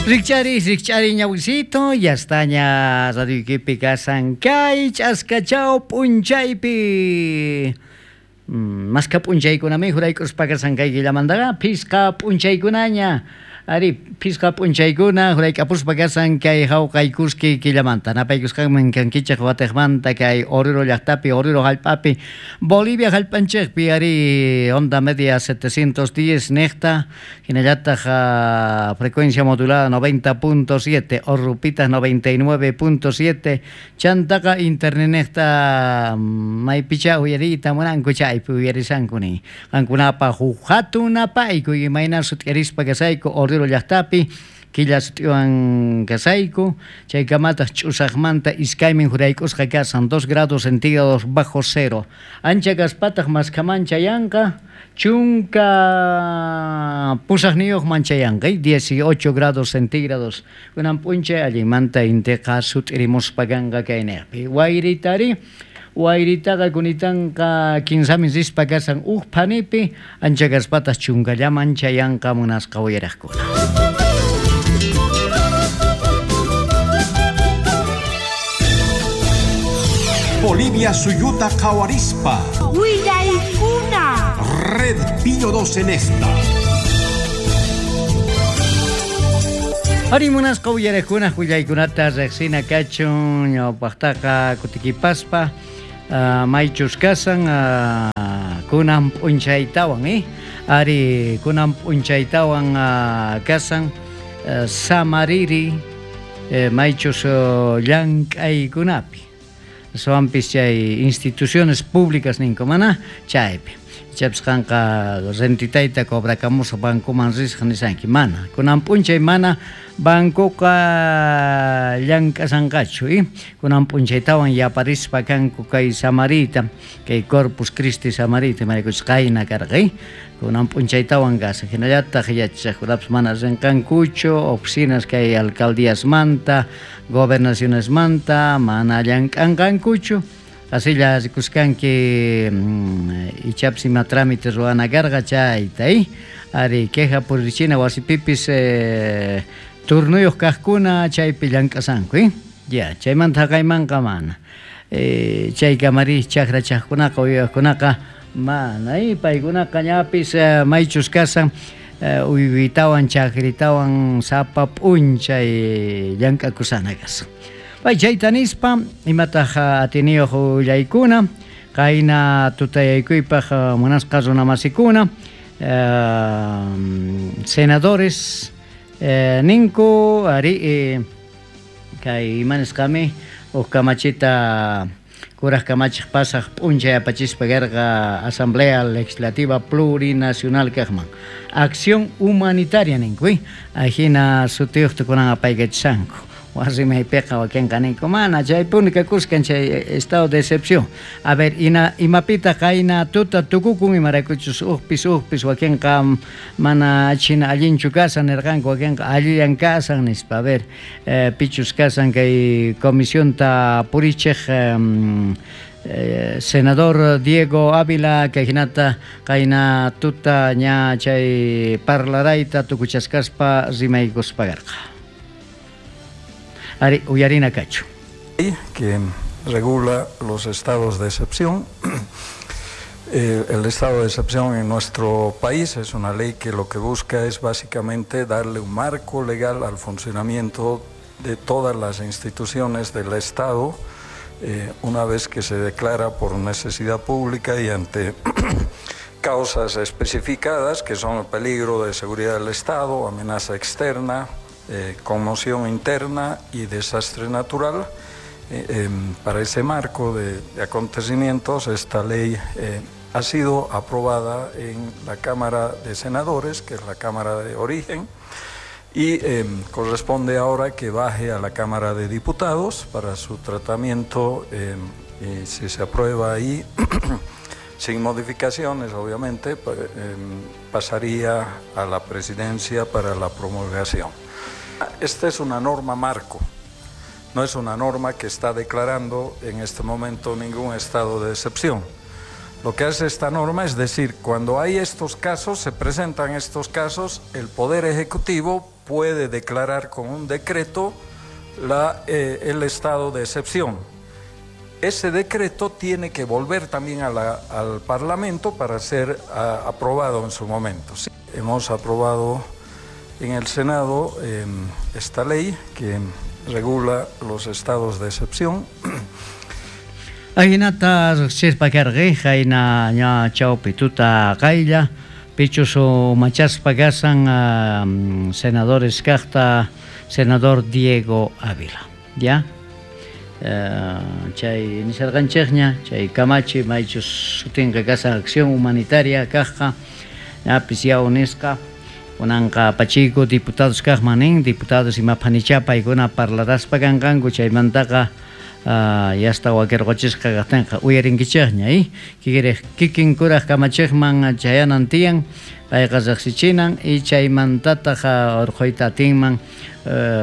Rikch'ariy, rikch'ariy ñawisito, yastaña radioykipi kasan kay ch'askachaw p'unchaypi. Mashkha p'unchaykunami jurayk'uspa kasan kay killamantaqa phisqa p'unchaykunaña. Ari, phisqa p'unchaykuna jurayk'apuspa kasan kay jawqay kuski killamanta. Napaykusqanman kankichej watejmanta kay Oruro llajtapi, Oruro jallp'api, Bolivia jallp'anchejpi, ari, onda media 710 nejta, jinallataj frecuencia modulada 90.7, Orrupitaj 99.7, chantaqa internetnejta maypichá uyariyta munanku chaypi uyarisanku nin. Qankunapaj uj jatun napaykuy imayna sut'irispa kasayku Oruro llajtapi, killa sut'iwan kasayku, chaykamataj ch'usajmanta iskaymin jurayk'usqa kasan, 2 grados centígrados bajo cero. Ancha kaspataj maskhaman chayanqa, chunka pusajniyojman chayanqa, 18 grados centígrados. Kunan p'unchay allinmanta inteqa sut'irimuspa kanqa kaynejpi. Wayritari, wayritaqa kunitanqa kinsamin rispa kasan uj phanipi, ancha kaspataj chunkallaman chayanqa munasqa uyarajkuna. Bolivia suyuta qhawarispa. Willaykuna. Red Pío 12 en esta. Ari munasqa uyarajkuna willaykunata riqsina kachun ñawpaqtaqa kutikipaspa, maychus kasan, kunan p'unchaytawan, Ari kunan p'unchaytawan, kasan, samariri, maychus llank'aykunapi. Aswanpis chay instituciones públicas ninku mana chaypi. Ichapis qanqa rentitayta cobrakamusaq bancoman risaq nisanki, mana. Kunan p'unchay mana bancoqa llank'asanqachu, Kunan p'unchaytawan yaparispa kanku kay samarita, kay Corpus Christi samarita, imaraykuchus qayna karqa, Kunan p'unchaytawan kasaq. Hinallataq yachaqkunapis mana rinqankuchu, oficinas kay alcaldíasmanta, gobernacionesmanta mana llank'anqankuchu. Asilla rikuskanki, ichapis ima trámite ruwana karqa chayta, Ari queja purichina wasipipis, turnuyuq kaqkuna chaypi llank'asanku, Ya, chaymanta haqaymanqa mana. Chay kamari chakra chaqkunaqa uywaqkunaqa mana, paykunaqa ñapis maychus kasan, uywitawan chakritawan sapa p'unchay llank'akusana kasan. Pay chayta nispa, imataq atiniyuq willaykuna, qayna tutayaykuypaq munasqa runamasikuna, senadores ninku, ari, kay ima nisqami, uj kamachita kuraj kamachej pasaj p'unchay apachispa karqa Asamblea Legislativa Plurinacional kajman. Acción humanitaria ninku, Ajina sutiyuqta kunan apaykachishanku. Wasimaypiqa wakinqa ninku, mana chaypuni kakuskan chay estado de excepción. A ver, imapitaq qayna tuta tukukun, imaraykuchus ujpis ujpis wakinqa mana china allinchu kasan nirqanku, wakinqa allillan kasan nispa. A ver, pichus kasan kay comisionta purichej, senador Diego Ávila, kay hinata qayna tuta ña chay parlarayta tukuchasqaspa rimaykuspa karqa. Ari, uyarina kachu. Que regula los estados de excepción. El estado de excepción en nuestro país es una ley que lo que busca es básicamente darle un marco legal al funcionamiento de todas las instituciones del Estado, una vez que se declara por necesidad pública y ante causas especificadas, que son el peligro de seguridad del Estado, amenaza externa, conmoción interna y desastre natural. Para ese marco de acontecimientos, esta ley ha sido aprobada en la Cámara de Senadores, que es la Cámara de origen, y corresponde ahora que baje a la Cámara de Diputados para su tratamiento, y si se aprueba ahí, sin modificaciones, obviamente, pasaría a la presidencia para la promulgación. Esta es una norma marco, no es una norma que está declarando en este momento ningún estado de excepción. Lo que hace esta norma es decir, cuando hay estos casos, se presentan estos casos, el Poder Ejecutivo puede declarar con un decreto el estado de excepción. Ese decreto tiene que volver también al Parlamento para ser aprobado en su momento. Sí, hemos aprobado en el Senado esta ley que regula los estados de excepción. Ajinata riqsispa karqa qayna ña chawpi tuta qaylla pichus umachaspa kasan senadores kaqta senador Diego Ávila, ya chay nisarqanchikña chay kamachi maychus sutinqa kasan acción humanitaria kaqqa ñapis yaw nisqa kunanqa apachiyku diputados kaqman nin diputados imapanichá paykuna parlaraspa kanqanku chaymantaqa yasta wakirquchisqa kaqtinqa uyarinkichikña kikin kuraq kamachiqman chayanan tiyan payqa riqsichinan y chaymantataq urquyta atinman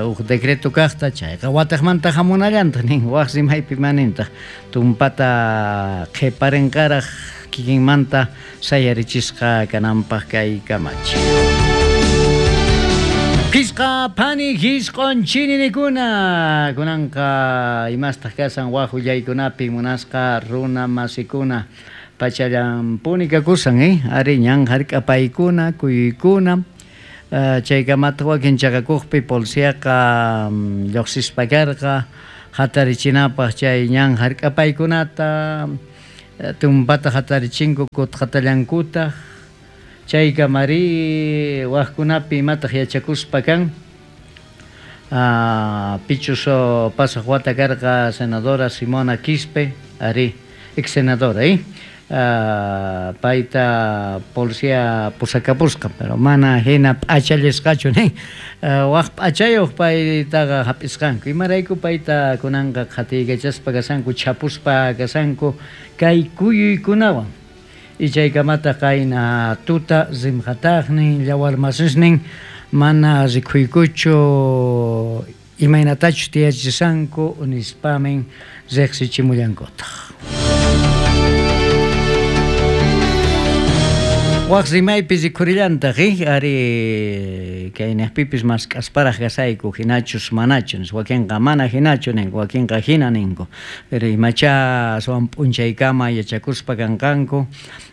huk decreto kaqta chayqa wataqmanta hamunallantaq nin waq rimaypi manintaq tumpata qhiparinqaraq kikinmanta sayarichisqa kananpaq kay kamachi. Pisqa pani hisq'un chininikuna kunanqa imastaq kasan waq willaykunapi munasqa runa masikuna pachallampuni kakusan ari ñan hark'apaykuna kuyuykuna chaykamataq wakin chaqakuqpi policiaqa lluqsispa karqa hatarichinapaq chay ñan hark'apaykunata tumpata hatarichinku kutqatallankutaq chaykamari waqkunapi imataq yachakuspa kan pichus pasaq wata karqa senadora Simona Quispe ari ex senadora payta policía pusakapusqa pero mana hina p'achallisqachu nin waq p'achayuq paytaqa hap'isqanku imarayku payta kunanqa qhatiykachaspa kasanku chapuspa kasanku kay kuyuykunawan y chaykamataq qayna tuta rimqataqnin llawarmasisnin mana rikhuykuchu imaynatachus tiyachisqanku nispamin riqsichimullankutaq. Waq rimaypi rikhurillantaq ari kaynaqpipis mask'asparaq kasayku hinachus manachus wakinqa mana hinachu ninku wakinqa hina ninku pero imachá aswan p'unchaykama yachakuspa kanqanku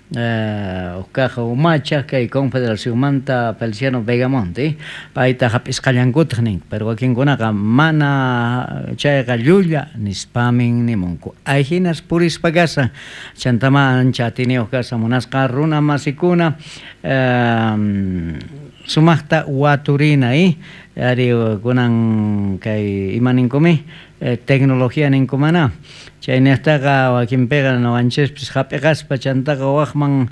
uqkaqa umacha kay Confederacionmanta Feliciano Vegamonte payta hap'isqallankutaq ninku pero wakinkunaqa mana chayqa llulla nispamin nimunku ayhinas purispa kasan chantama ancha atiniyuq kasan munasqa runa masikuna sumaqta waturina ari kunan kay ima ninkumi tecnología ninkumana chaynaqtaqa wakinpiqa nuqanchispis hap'iqaspa chantaqa waqman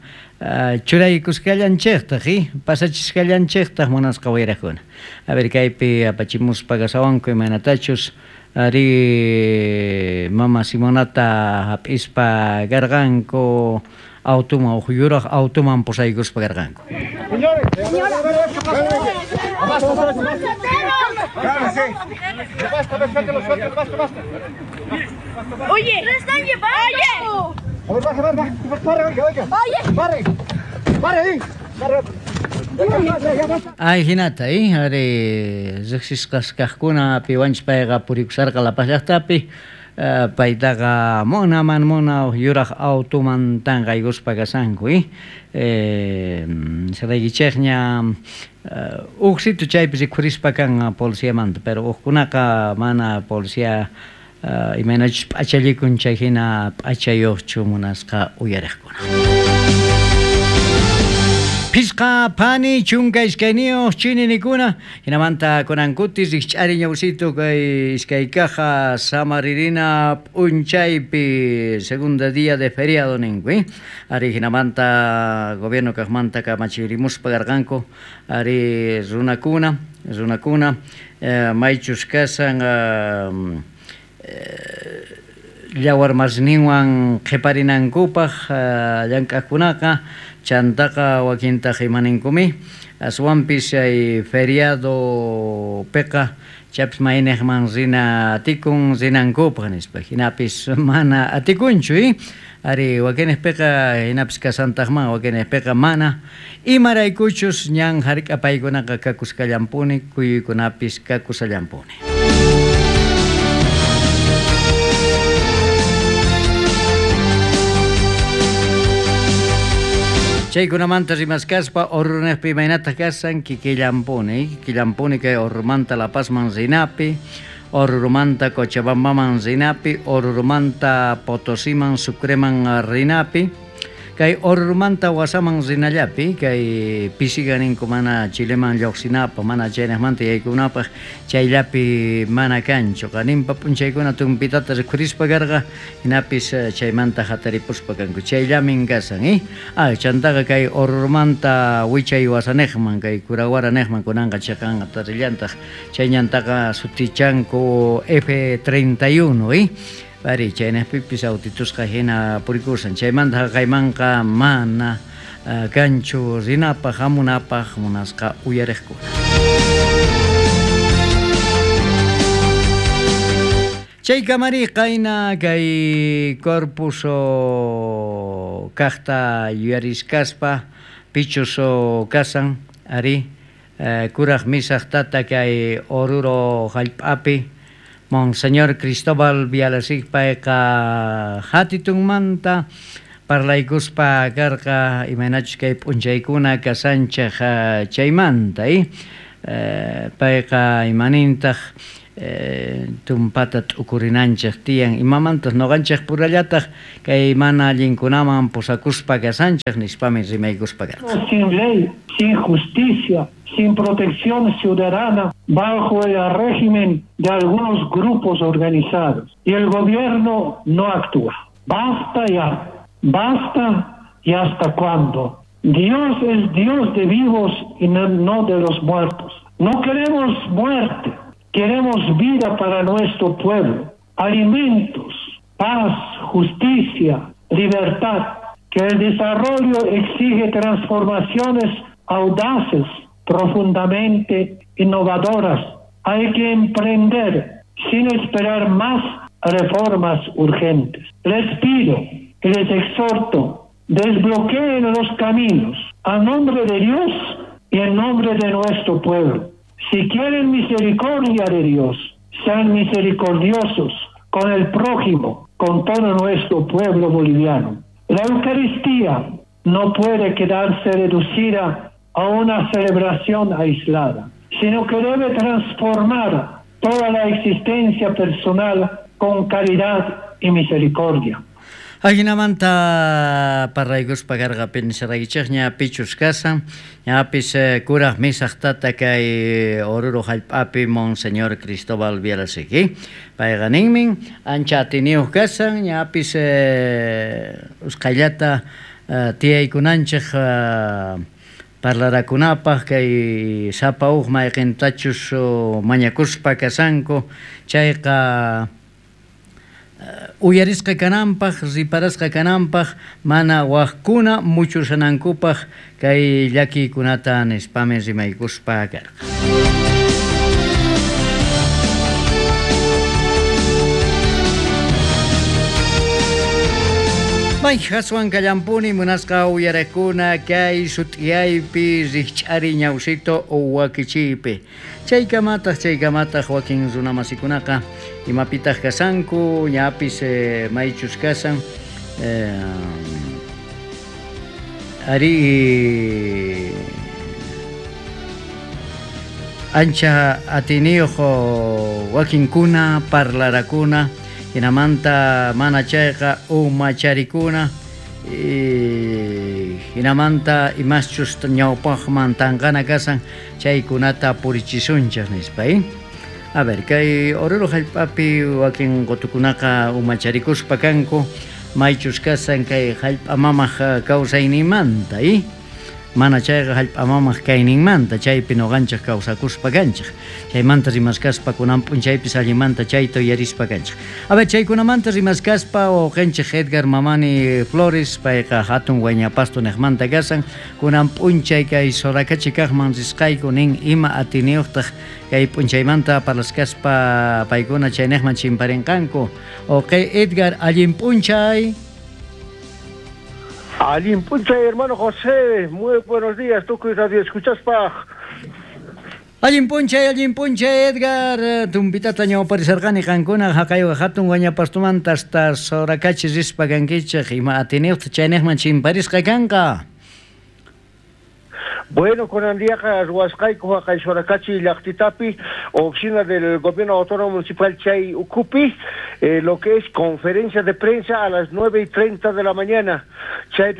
churaykusqallanchiktaq pasachisqallanchiktaq munasqa wayraqkuna. A ver kaypi apachimuspa kasawanku imaynatachus ari mama Simonata hap'ispa karqanku automan huk yuraq automan pusaykuspa karqanku. Oye, ¡lo están llevando! A ver, baje, baje, pare, oiga, oiga. Oye. Pare, pare ahí. Pare. Ay, hinata, ari riqsisqas kaqkuna piwanchis payqa purikusarqa La Paz llaqtapi paytaqa munaman muna yuraq automan tanqaykuspa kasanku saraykichikña huk sitio chaypi rikhurispa kan policiamanta pero hukkunaqa mana policía imaynachus p'achallikun chay hina p'achayuqchu munasqa uyariqkuna. Pisqa pani chunka iskayniyuq chininikuna hinamanta kunankuti rikch'ari ñawsito kay iskay caja samaririna p'unchaypi segunda día de feriado ninku ari hinamanta gobierno kaqmanta kamachirimuspa karqanku ari runakuna maychus kasan llawarmasninwan qhiparinankupaq llank'aqkunaqa chantaqa wakintaq imaninkumi aswanpis chay feriado piqa chaypis mayniqman rina atikun rinankupaq nispa hinapis mana atikunchu Ari wakinejpiqa hinapis kasantaqman, wakinejpiqa mana. Imaraykuchus ñan hark'apaykunaqa kakusqallampuni, kuyuykunapis kakusallampuni. Chaykunamanta rimaskaspa Orurunejpi imaynataq kasan kikillampuni, kikillampuni kay Orurumanta La Pazman rinapi, Orurumanta Cochabambaman rinapi, Orurumanta Potosiman, Sucreman rinapi, kay Orurumanta Wasaman rinallapi, kay pisiga ninku mana Chileman lluqsinapaq, mana chaynejmanta yaykunapaq, chayllapi mana kanchu. Qaninpa p'unchaykuna tumpitata rikhurispa karqa, hinapis chaymanta hataripuspa kanku. Chayllamin kasan, Chantaqa kay Orurumanta wichay wasanejman, kay Curahuara nejman kunanqa chiqanqa tarillantaq, chay ñantaqa sutichanku F31, Ari, chaynejpipis autitusqa hina purikusan. Chaymanta haqaymanqa mana kanchu rinapaq, hamunapaq munasqa uyariqkuna. Chay kamari qayna kay corpus kaqta yuyariskaspa pichus kasan, ari, kuraj misaj tata kay Oruro hallp'api, Monseñor Cristóbal Bialasik payqa hatitunmanta parlaykuspa karqa imaynachus kay p'unchaykuna kasanchej chaymanta, payqa imanintaq tumpata t'ukurinanchej tiyan imamantas noqanchej purallataq kay mana allinkunaman pusakuspa kasanchej nispami rimaykuspa karqa. Sin ley, sin justicia, sin protección ciudadana, bajo el régimen de algunos grupos organizados. Y el gobierno no actúa. Basta ya, basta y hasta cuándo. Dios es Dios de vivos y no de los muertos. No queremos muerte, queremos vida para nuestro pueblo, alimentos, paz, justicia, libertad. Que el desarrollo exige transformaciones audaces, profundamente innovadoras. Hay que emprender sin esperar más reformas urgentes. Les pido y les exhorto, desbloqueen los caminos a nombre de Dios y en nombre de nuestro pueblo. Si quieren misericordia de Dios, sean misericordiosos con el prójimo, con todo nuestro pueblo boliviano. La Eucaristía no puede quedarse reducida a una celebración aislada, sino que debe transformar toda la existencia personal con caridad y misericordia. Ajinamanta parlaykuspa karqa pinsaraykichejña pichus kasan, ñapis kuraj misaj tata kay Oruro hallp'api Monseñor Cristóbal Bialasik, payqa ninmin ancha atiniyuq kasan, ñapis usqhayllata tiyaykunanchej parlarakunapaq kay sapa uj mayqintachus mañakuspa kasanku, chayqa uyarisqa kananpaq, riparasqa kananpaq, mana wajkuna muchusanankupaq kay llakiykunata nispami rimaykuspa karqa. May haswan kallampuni munasqa uyariqkuna kay sut'iyaypi rikch'ari ñawsito wakichiypi. Chaykamataq wakin runamasikunaqa imapitaq kasanku, ñapis maychus kasan, ari ancha atiniyuq wakinkuna parlarakuna, hinamanta mana chayqa umacharikuna, hinamanta imaschus ñawpaqman tanqana kasan chaykunata purichisunchik nispa, A ver, kay Oruro hallp'api wakin qutukunaqa umacharikuspa kanku, maychus kasan kay hallp'a mamaq kawsayninmanta, Mana chayqa hallp'a mamaq kayninmanta, chaypi nuqanchik kawsakuspa kanchik. Chaymanta rimaskaspa kunan p'unchaypis allimanta chayta uyarispa kanchik. A ver, chaykunamanta rimaskaspa wawqinchik Edgar Mamani Flores, payqa hatun Huayñapasto niqmanta kasan, kunan p'unchay kay Sorakachi kaqman risqayku nin ima atiniyuqtaq kay p'unchaymanta parlaskaspa paykuna chayniqman chimparinqanku. Wawqi Edgar, allin p'unchay. Allin p'unchay, hermano José, muy buenos días, tukuy radio escuchaspaj. Allin p'unchay, Edgar. Tumpitata ñawparisarqani qankuna haqay hatun wañapastumanta hasta Soracachi rispa kankichej ima atiniyuqta chaynejman chimparisqa kanqa. Bueno, kunan diaqa ruwasqayku haqay Soracachi llaqtitapi, oficina del Gobierno Autónomo Municipal chay ukhupi, lo que es conferencia de prensa a las 9:30 de la mañana. Chay